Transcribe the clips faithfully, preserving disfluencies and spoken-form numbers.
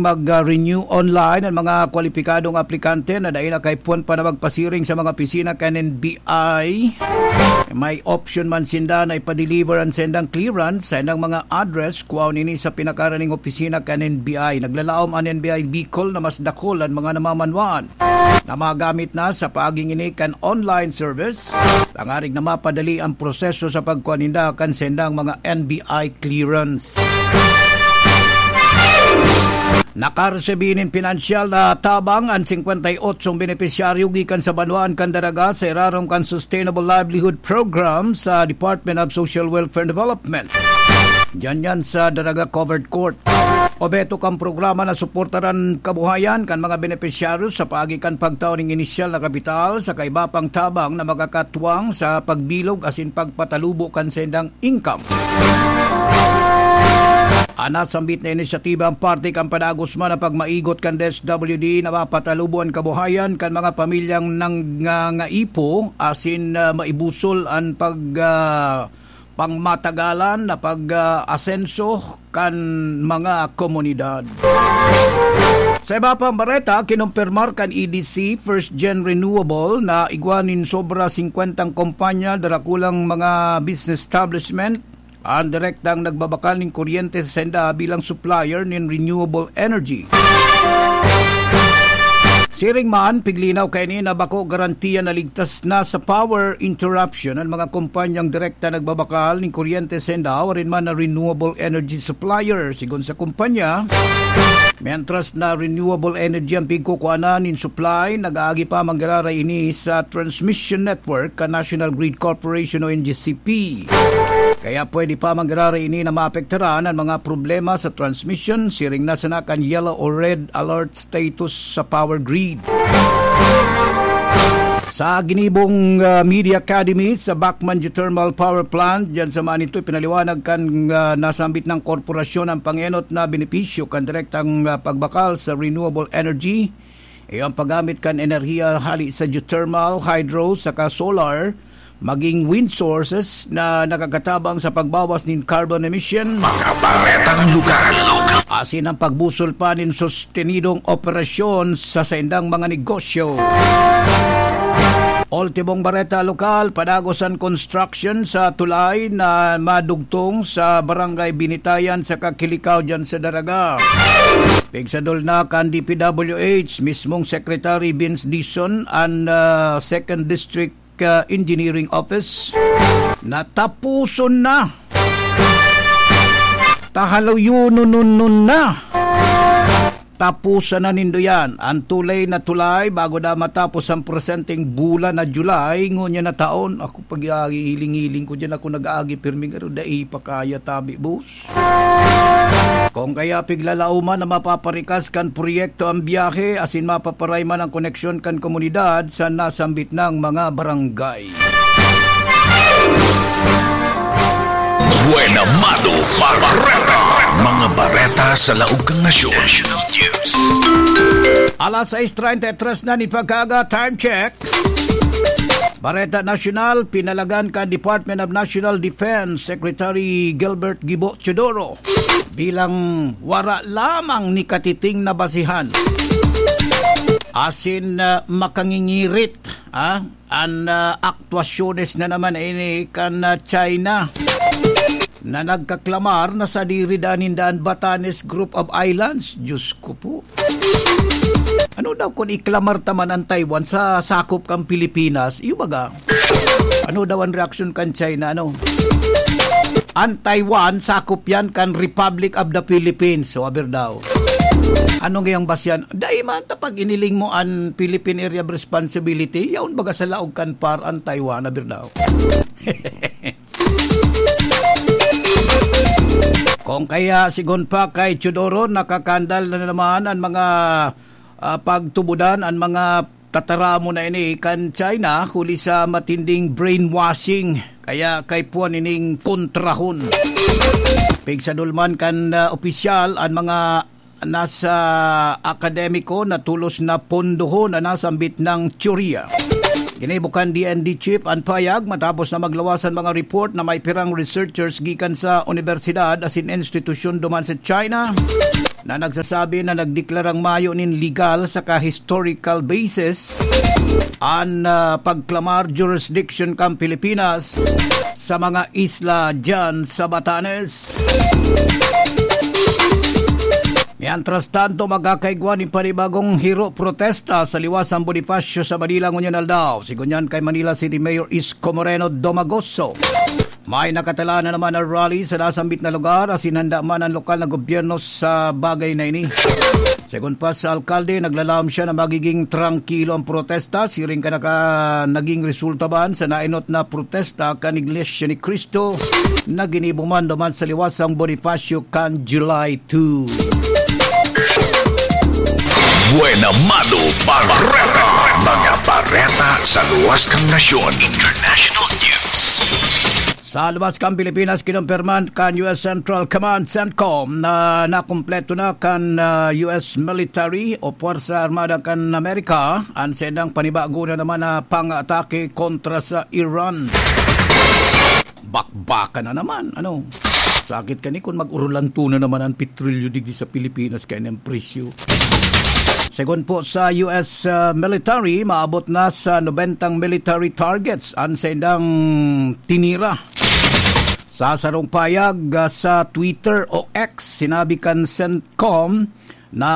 mag-renew online an mga kwalipikadong aplikante na dai nakaipon pa na magpasiring sa mga opisina kan N B I. May option man sinda na ipa-deliver an sendang clearance sa indang mga address, kuwaon ini sa pinakaraning opisina kan N B I. Naglalaom an N B I Bicol na mas dakul an mga namamanwaan na magamit na sa paaging ini kan online service, tangarig na mapadali ang proseso sa pagkuha ninda kan sendang mga N B I clearance. Nakaresibi nin pinansyal na tabang an singkwenta y otsong benepisyaryo gikan sa banwaan kan Daraga sa irarom kan Sustainable Livelihood Program sa Department of Social Welfare and Development. Diyan yan sa Daraga Covered Court. Obheto kan programa na suportaran kabuhayan kan mga benepisyaryo sa paagi kan pagtao ning inisyal na kapital sa kaiba pang tabang na makakatwang sa pagbilog asin pagpatalubo kan sendang income. An nasambit na inisyatiba an parte kan padagos man na pagmaigot kan D S W D na mapatalubo an kabuhayan kan mga pamilyang nangangaipo asin, ah, maibusol an pag, ah, pangmatagalan na pag, ah, asenso kan mga komunidad. Sa iba pang bareta, kinumpirmar kan E D C First Gen Renewable na igwa nin sobra singkwentang kompanya, darakulang mga business establishment, an direktang nagbabakal nin kuryente sa senda bilang supplier nin renewable energy. Siring man, piglinaw kaini na bako garantiya na ligtas na sa power interruption an mga kompanyang direkta nagbabakal nin kuryente sa senda, warin man na renewable energy supplier. Sigon sa kompanya, mientras na renewable energy ang pigkukuanan nin supply, nag-aagi pa manggiraray ini sa transmission network kan National Grid Corporation o N G C P. Kaya pwede pa manggiraray ini na maapektaran an mga problema sa transmission, siring na sana kan yellow o red alert status sa power grid. Sa ginibong, ah, Media Academy sa Bacman Geothermal Power Plant, diyan sa Manitoy, pinaliwanag kan, ah, nasambit na korporasyon ang pangenot na benepisyo kan direktang, ah, pagbakal sa renewable energy. Iyo ang paggamit kan enerhiya hali sa geothermal, hydro, saka solar, maging wind sources na nakakatabang sa pagbawas nin carbon emission. Mga baretang lugar. Asin ang pagbusol pa nin sostenidong operasyon sa saindang mga negosyo. Ultimong bareta lokal, padagos an construction sa tulay na madugtong sa Barangay Binitayan sa Kakilikaw diyan sa Daraga. Pigsadol na kan D P W H, mismong Secretary Vince Dizon, an, ah, Second District, ah, Engineering Office. Natapuson na. Tahaluyonon na. Tapusan na nindo yan. An tulay na tulay, bago na matapos ang presenteng bulan na July, ngunyan na taon. Ako, pag-iiling-iling ko dyan, ako nag-aagi, pirmi garo, dai pa kaya tabi, boss. Kung kaya piglalauman na mapaparikas kan proyekto ang biyahe, asin mapaparay man ang koneksyon kan komunidad sa nasambit ng mga barangay. Buena Mado Bareta. Mga bareta sa laog kan nasyon. Alas sais treinta y tres na nin pagkaaga, time check. Bareta Nasyonal, pinalagan kan Department of National Defense Secretary Gilbert Gibo Teodoro bilang wara lamang ni katiting na basihan. Asin, ah, makangingirit, ah, an, ah, aktuasyones na naman ini kan, ah, China na nagkaklamar na sadiri daa ninda an Batanes Group of Islands. Diyos ko po. Ano daw kung iklamar ta man an Taiwan sa sakop kan Pilipinas? Iyo baga? Ano daw an reaksyon kan China, ano? An Taiwan, sakop yan kan Republic of the Philippines. So, aber daw. Ano ngayang basyan? Dai man ta pag iniling mo an Philippine Area of Responsibility, yaon baga sa laog kan par an Taiwan, aber daw. Kung kaya, sigon pa kay Teodoro, nakakandal na naman an mga, ah, pagtubodan, an mga tataramon na ini kan China, huli sa matinding brainwashing. Kaya kaipuhan ining kontrahon. Pigsadol man kan, ah, opisyal, an mga nasa akademiko na tolos na pondohon na nasambit na teorya. Ginibo kan D N D chief an payag matapos na maglawas an mga report na may pirang researchers gikan sa unibersidad asin institusyon duman sa China na nagsasabi na nagdeklarang mayo nin legal saka historical basis an, ah, pagklamar jurisdiction kan Pilipinas sa mga isla diyan sa Batanes. Mientras tanto, magkakaigwa nin panibagong hiro protesta sa liwasang Bonifacio sa Manila ngunyan aldaw. Sigunyan kay Manila City Mayor Isko Moreno Domagoso. May nakatala na naman na rally sa nasambit na lugar asin handa man ang lokal na gobyerno sa bagay na ini. Segun pa sa alkalde, naglalam siya na magiging trangkilo ang protesta, siring ka naka-, naging resulta man sa nainot na protesta kan Iglesia ni Cristo na ginibo man duman sa liwasang Bonifacio kan July two. Buena Mano Bareta. Mga bareta sa luwas kan nasyon. International news. Sa luwas kan Pilipinas, kinumpirman kan U S Central Command, CENTCOM, na nakumpleto na kan, ah, U S military o Puwersa Armada kan Amerika an saindang panibago na naman na pang-atake kontra sa Iran. Bakbakan na naman, ano? Sakit kani kun mag-urulanto na naman ang petrolyo digdi sa Pilipinas kaya ng presyo. Segun po sa U S, ah, military, maabot na sa nobentang military targets an saindang tinira. Sa sarong payag, ah, sa Twitter o X, sinabi kan CENTCOM na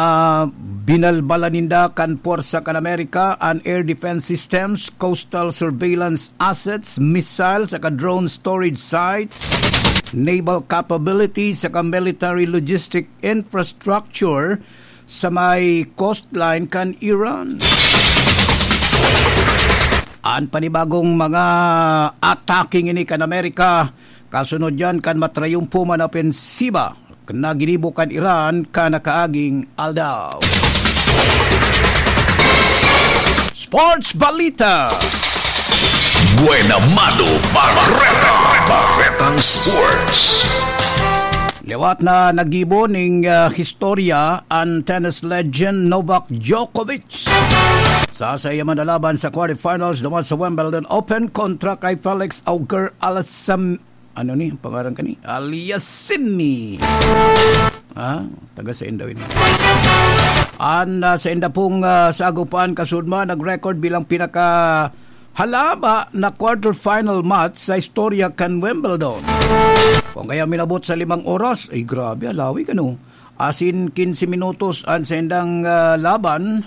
binalbalan ninda kan Puwersa kan Amerika an air defense systems, coastal surveillance assets, missiles saka drone storage sites, naval capabilities saka military logistic infrastructure sa may coastline kan Iran. An panibagong mga atake ngini kan Amerika, kasunod yan kan matrayumpo man na opensiba na ginibo kan Iran kan nakaaging aldaw. Sports Balita. Buena Mano Bareta. Baretang Sports. Liwat na naggibo ning, ah, historya an tennis legend Novak Djokovic. Sa saiya man na laban sa quarterfinals duman sa Wimbledon Open kontra kay Felix Auger Alasam-, ano ni, ang pangaran kani? Aliassime. Ah, taga sain daw ini. An, ah, sainda pong, ah, sagupan kasudma, nag-record bilang pinaka halaba na quarterfinal match sa istorya kan Wimbledon. Kung kaya minabot sa limang oras, ay grabe, alawig ano. Asin quince minutos an saindang, ah, laban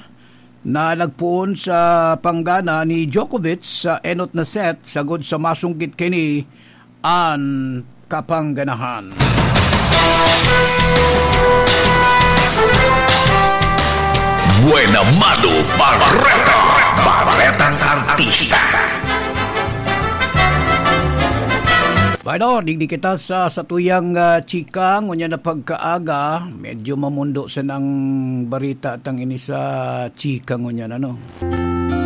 na nagpoon sa panggana ni Djokovic sa enot na set, sagod sa masungkit kini an kapangganahan. Buena Mano Bareta. Baretang Artista. Bueno, digdi kita sa satuyang, ah, chika, ngunyan na pagkaaga, medyo mamundo sa nang barita tang ini sa chika ngunyan, ano?